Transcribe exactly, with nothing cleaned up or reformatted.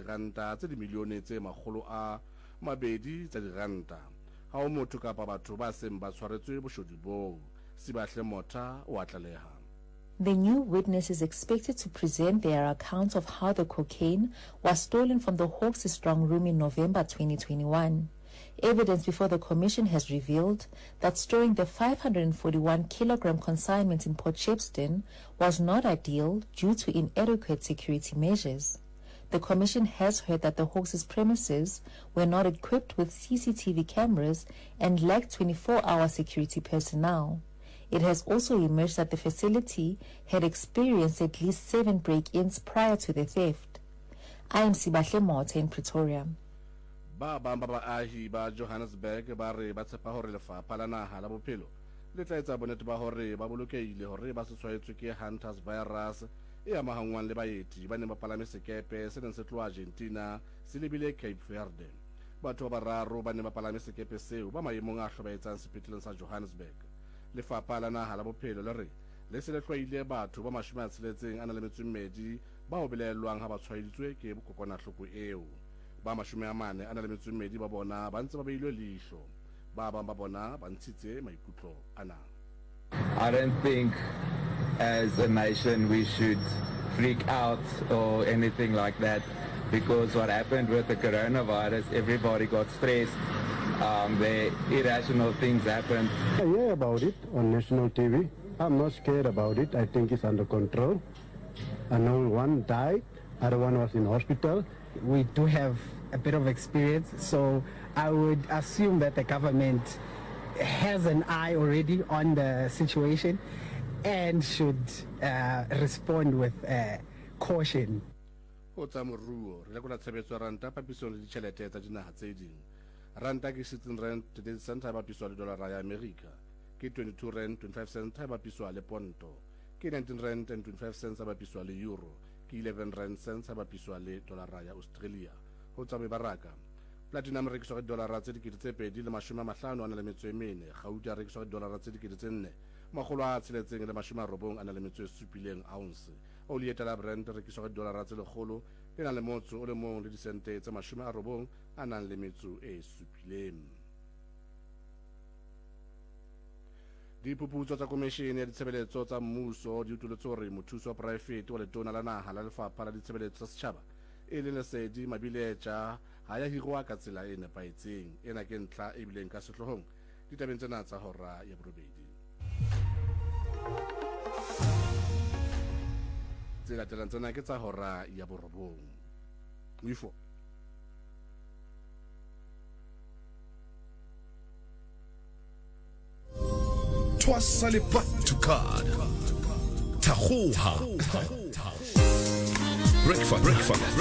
diranta tse dimilione tse makgolo a mabedi tsa diranta. Ha ho motho kapa batho ba seng ba tshwaretswe boshodu boo. Sibahle Motha o a tlaleha. The new witness is expected to present their accounts of how the cocaine was stolen from the Hawks' strong room in November twenty twenty-one. Evidence before the commission has revealed that storing the five hundred forty-one kilogram consignment in Port Shepstone was not ideal due to inadequate security measures. The commission has heard that the Hawks' premises were not equipped with C C T V cameras and lacked twenty-four hour security personnel. It has also emerged that the facility had experienced at least seven break-ins prior to the theft. I am Sibahle Motha in Pretoria. Ba bang ba baahi ba Johannesburg ba re ba tshepa hore lefapha la naha la bophelo le tla etsa bonnete ba hore ba bolokehile hore ba se tshwaetswe ke Hunter's virus e amahanngwang le baeti ba neng ba palame sekepe se neng se tloha Argentina se lebile Cape Verde. Batho ba bararo ba neng ba palame sekepe seo ba maemong a hlobaetsang sepetleleng sa Johannesburg. Lefapha la naha la bophelo le re le se le hlwaile batho ba mashome a tsheletseng a nang le metso e mmedi bao belaellwang ha ba tshwaeditswe ke kokwanahloko eo. Ba mashome a mane a nang le metso e mmedi ba bona ba ntse ba beilwe leihlo. Ba bang ba bona ba ntshitse maikutlo ana. I don't think as a nation we should freak out or anything like that, because what happened with the coronavirus, everybody got stressed. Um, the irrational things happened. I hear about it on national T V. I'm not scared about it. I think it's under control. I know one died, other one was in hospital. We do have a bit of experience, so I would assume that the government has an eye already on the situation and should, uh, respond with, uh, caution. Ho tsa moruo, re lekola tshebetso ya ranta papisong le ditjhelete tsa dinaha tse ding. Ranta ke sixteen rand thirty cents ha e bapiswa le dolara ya Amerika. Ke twenty-two rand twenty-five cents ha e bapiswa le ponto. Ke nineteen rand and twenty-five cents ha e bapiswa le euro. Ke eleven rand cents ha e bapiswa le dolara ya Australia. Ho tswa mebaraka, platinum e rekiswa ka didolara tse dikete tse pedi le mashome a mahlano a na le metso e mene. Gauta e rekiswa ka didolara tse dikete tse nne makgolo a tsheletseng le mashome a robong a na le metso e supileng ounce. Oli e tala Brent e rekiswa ka didolara tse lekgolo le nang le motso o le mong le disente tse mashome a robong a nang le metso e supileng. Diphuputso tsa Komishene ya Ditshebeletso tsa Mmuso di utullotse hore mothusi wa poraefete wa letona la naha la Lefapha la Ditshebeletso tsa Setjhaba e leng Lesedi Mabiletja ha ya hirwa ka tsela e nepahetseng. Ena ke ntlha e bileng ka sehloohong ditabeng tsena tsa hora ya borobedi. Tse latelang tsena ke tsa hora ya borobong. Moifo. Twasa le back to card. Thagoha. Breakfast. Breakfast.